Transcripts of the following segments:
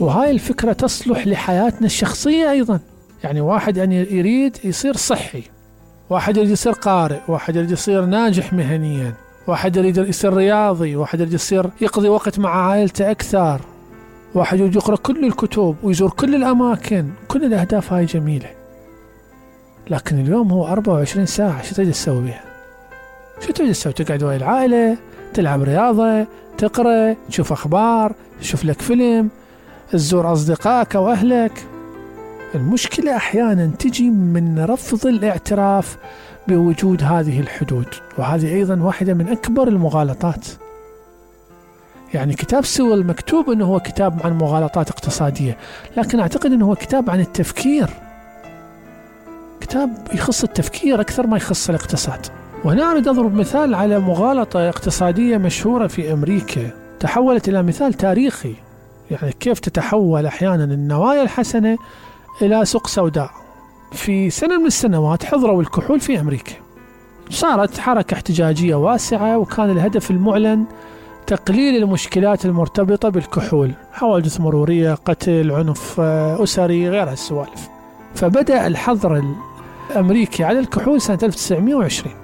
وهاي الفكرة تصلح لحياتنا الشخصية أيضا. يعني واحد يريد يصير صحي، واحد يريد يصير قارئ، واحد يريد يصير ناجح مهنيا، واحد يريد يصير رياضي، واحد يريد يصير يقضي وقت مع عائلته أكثر، واحد يريد يقرأ كل الكتب ويزور كل الأماكن. كل الأهداف هاي جميلة، لكن اليوم هو 24 ساعة، شو تريد تسوي بها؟ شو تريد تسوي؟ تقعد ويا العائلة، تلعب رياضة، تقرأ، تشوف أخبار، تشوف لك فيلم، تزور أصدقائك أو أهلك. المشكلة أحيانا تجي من رفض الاعتراف بوجود هذه الحدود، وهذه أيضا واحدة من أكبر المغالطات. يعني كتاب سيول مكتوب أنه هو كتاب عن مغالطات اقتصادية، لكن أعتقد أنه هو كتاب عن التفكير، كتاب يخص التفكير أكثر ما يخص الاقتصاد. وهنا أريد أضرب مثال على مغالطة اقتصادية مشهورة في أمريكا تحولت إلى مثال تاريخي. يعني كيف تتحول أحيانا النوايا الحسنة إلى سوق سوداء. في سنة من السنوات حظروا الكحول في أمريكا، صارت حركة احتجاجية واسعة، وكان الهدف المعلن تقليل المشكلات المرتبطة بالكحول، حوادث مرورية، قتل، عنف أسري، غير هالسوالف. فبدأ الحظر الأمريكي على الكحول سنة 1920.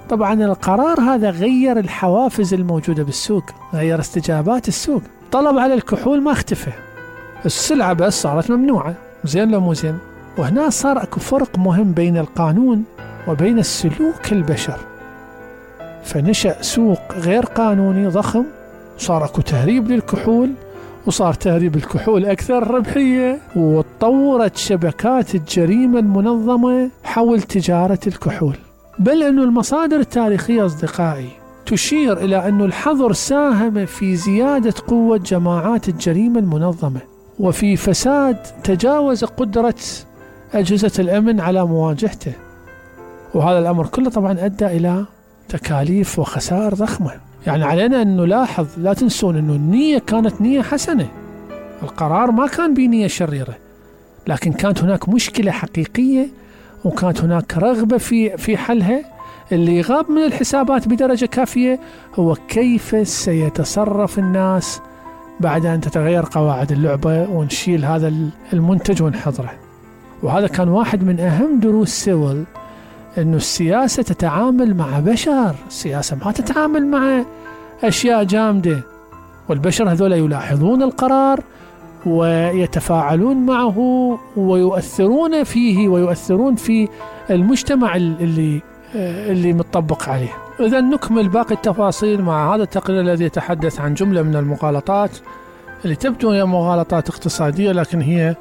طبعا القرار هذا غير الحوافز الموجودة بالسوق، غير استجابات السوق. طلب على الكحول ما اختفى، السلعة بس صارت ممنوعة. زين لو مو زين؟ وهنا صار اكو فرق مهم بين القانون وبين السلوك البشر. فنشأ سوق غير قانوني ضخم، صار اكو تهريب للكحول، وصار تهريب الكحول أكثر ربحية، وتطورت شبكات الجريمة المنظمة حول تجارة الكحول. بل أن المصادر التاريخية أصدقائي تشير إلى أن الحظر ساهم في زيادة قوة جماعات الجريمة المنظمة، وفي فساد تجاوز قدرة أجهزة الأمن على مواجهته. وهذا الأمر كله طبعا أدى إلى تكاليف وخسائر ضخمة. يعني علينا أن نلاحظ، لا تنسون أن النية كانت نية حسنة، القرار ما كان بنية شريرة، لكن كانت هناك مشكلة حقيقية، وكانت هناك رغبة في حلها. اللي غاب من الحسابات بدرجة كافية هو كيف سيتصرف الناس بعد أن تتغير قواعد اللعبة ونشيل هذا المنتج ونحضره. وهذا كان واحد من أهم دروس سيول، أنه السياسة تتعامل مع بشر، السياسة ما تتعامل مع أشياء جامدة. والبشر هذول يلاحظون القرار ويتفاعلون معه ويؤثرون فيه ويؤثرون في المجتمع اللي متطبق عليه. إذا نكمل باقي التفاصيل مع هذا التقرير الذي يتحدث عن جملة من المغالطات اللي تبدو هي مغالطات اقتصادية، لكن هي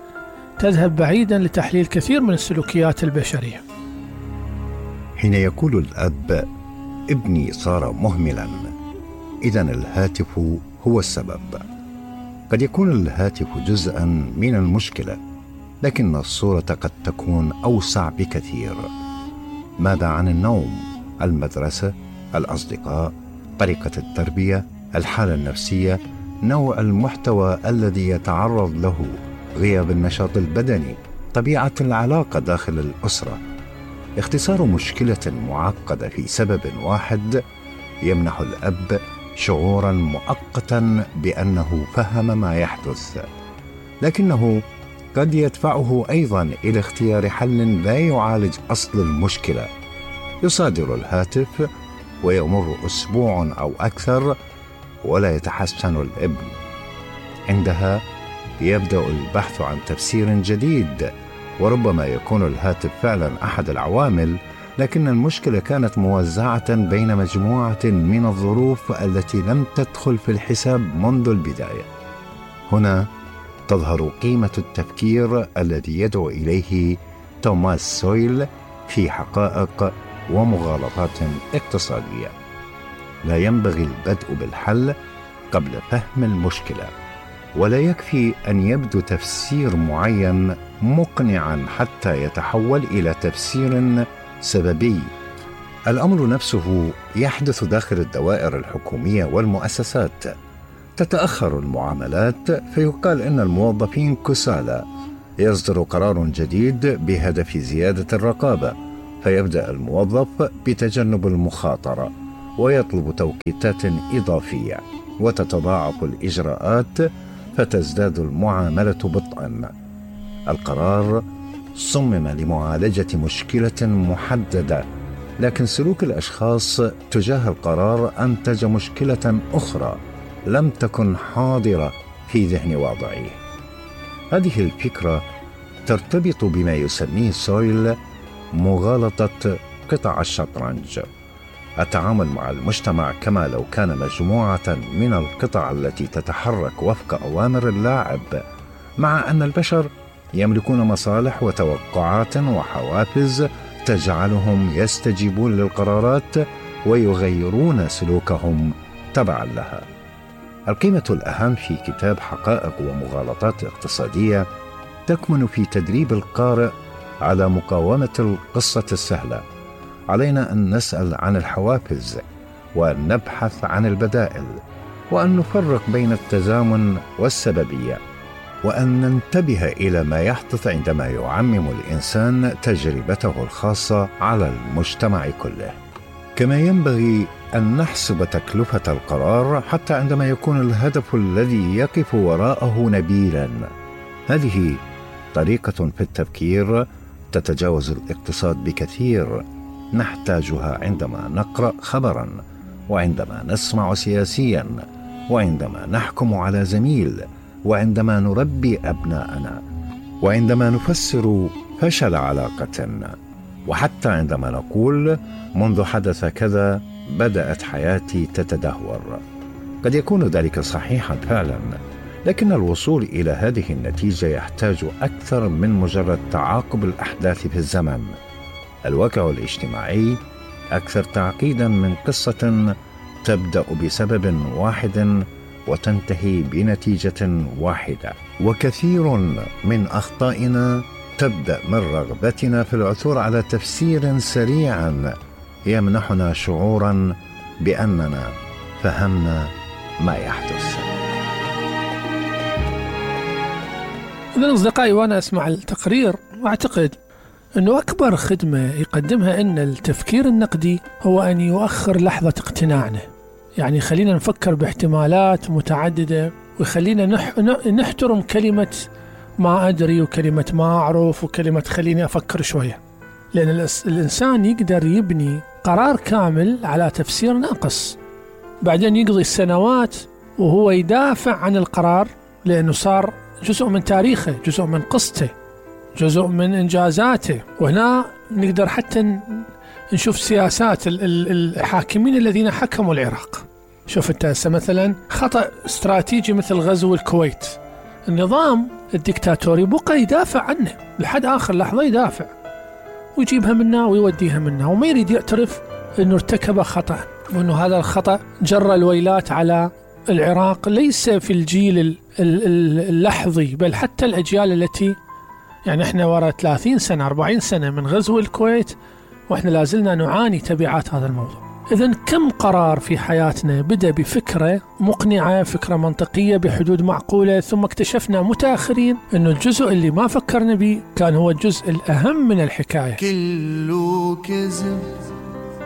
تذهب بعيدا لتحليل كثير من السلوكيات البشرية. حين يقول الأب: ابني صار مهملا، إذن الهاتف هو السبب. قد يكون الهاتف جزءا من المشكلة، لكن الصورة قد تكون أوسع بكثير. ماذا عن النوم، المدرسة، الأصدقاء، طريقة التربية، الحالة النفسية، نوع المحتوى الذي يتعرض له، غياب النشاط البدني، طبيعة العلاقة داخل الأسرة؟ اختصار مشكلة معقدة في سبب واحد يمنح الأب شعورا مؤقتا بأنه فهم ما يحدث، لكنه قد يدفعه أيضا إلى اختيار حل لا يعالج أصل المشكلة. يصادر الهاتف ويمر أسبوع أو أكثر ولا يتحسن الابن. عندها يبدأ البحث عن تفسير جديد، وربما يكون الهاتف فعلا أحد العوامل، لكن المشكلة كانت موزعة بين مجموعة من الظروف التي لم تدخل في الحساب منذ البداية. هنا تظهر قيمة التفكير الذي يدعو إليه توماس سويل في حقائق ومغالطات اقتصادية. لا ينبغي البدء بالحل قبل فهم المشكلة، ولا يكفي أن يبدو تفسير معين مقنعا حتى يتحول إلى تفسير سببي. الأمر نفسه يحدث داخل الدوائر الحكومية والمؤسسات. تتأخر المعاملات فيقال إن الموظفين كسالى، يصدر قرار جديد بهدف زيادة الرقابة، فيبدأ الموظف بتجنب المخاطرة ويطلب توقيتات إضافية، وتتضاعف الإجراءات فتزداد المعاملة بطئا. القرار صمم لمعالجة مشكلة محددة، لكن سلوك الأشخاص تجاه القرار أنتج مشكلة أخرى لم تكن حاضرة في ذهن واضعيه. هذه الفكرة ترتبط بما يسميه سويل مغالطة قطع الشطرنج، التعامل مع المجتمع كما لو كان مجموعة من القطع التي تتحرك وفق أوامر اللاعب، مع أن البشر يملكون مصالح وتوقعات وحوافز تجعلهم يستجيبون للقرارات ويغيرون سلوكهم تبعا لها. القيمة الأهم في كتاب حقائق ومغالطات اقتصادية تكمن في تدريب القارئ على مقاومة القصة السهلة. علينا أن نسأل عن الحوافز، وأن نبحث عن البدائل، وأن نفرق بين التزامن والسببية، وأن ننتبه إلى ما يحدث عندما يعمم الإنسان تجربته الخاصة على المجتمع كله. كما ينبغي أن نحسب تكلفة القرار حتى عندما يكون الهدف الذي يقف وراءه نبيلا. هذه طريقة في التفكير تتجاوز الاقتصاد بكثير، نحتاجها عندما نقرأ خبرا، وعندما نسمع سياسيا، وعندما نحكم على زميل، وعندما نربي أبناءنا، وعندما نفسر فشل علاقة، وحتى عندما نقول منذ حدث كذا بدأت حياتي تتدهور. قد يكون ذلك صحيحا فعلا، لكن الوصول إلى هذه النتيجة يحتاج أكثر من مجرد تعاقب الأحداث في الزمن. الواقع الاجتماعي أكثر تعقيدا من قصة تبدأ بسبب واحد وتنتهي بنتيجة واحدة، وكثير من أخطائنا تبدأ من رغبتنا في العثور على تفسير سريع يمنحنا شعورا بأننا فهمنا ما يحدث. إذن أصدقائي، وأنا أسمع التقرير أعتقد أنه أكبر خدمة يقدمها أن التفكير النقدي هو أن يؤخر لحظة اقتناعنا. يعني خلينا نفكر باحتمالات متعددة، وخلينا نحترم كلمة ما أدري وكلمة ما أعرف وكلمة خليني أفكر شوية، لأن الإنسان يقدر يبني قرار كامل على تفسير ناقص، بعدين يقضي السنوات وهو يدافع عن القرار لأنه صار جزء من تاريخه، جزء من قصته، جزء من إنجازاته. وهنا نقدر حتى نشوف سياسات الحاكمين الذين حكموا العراق. شوف انت مثلا خطأ استراتيجي مثل غزو الكويت، النظام الدكتاتوري بقى يدافع عنه لحد آخر لحظة، يدافع ويجيبها منا ويوديها منا، وما يريد يعترف أنه ارتكب خطأ، وأنه هذا الخطأ جر الويلات على العراق، ليس في الجيل اللحظي بل حتى الأجيال التي يعني احنا وراء 30 سنة 40 سنة من غزو الكويت واحنا لازلنا نعاني تبعات هذا الموضوع. إذن كم قرار في حياتنا بدأ بفكرة مقنعة، فكرة منطقية بحدود معقولة، ثم اكتشفنا متأخرين أنه الجزء اللي ما فكرنا به كان هو الجزء الأهم من الحكاية. كله كذب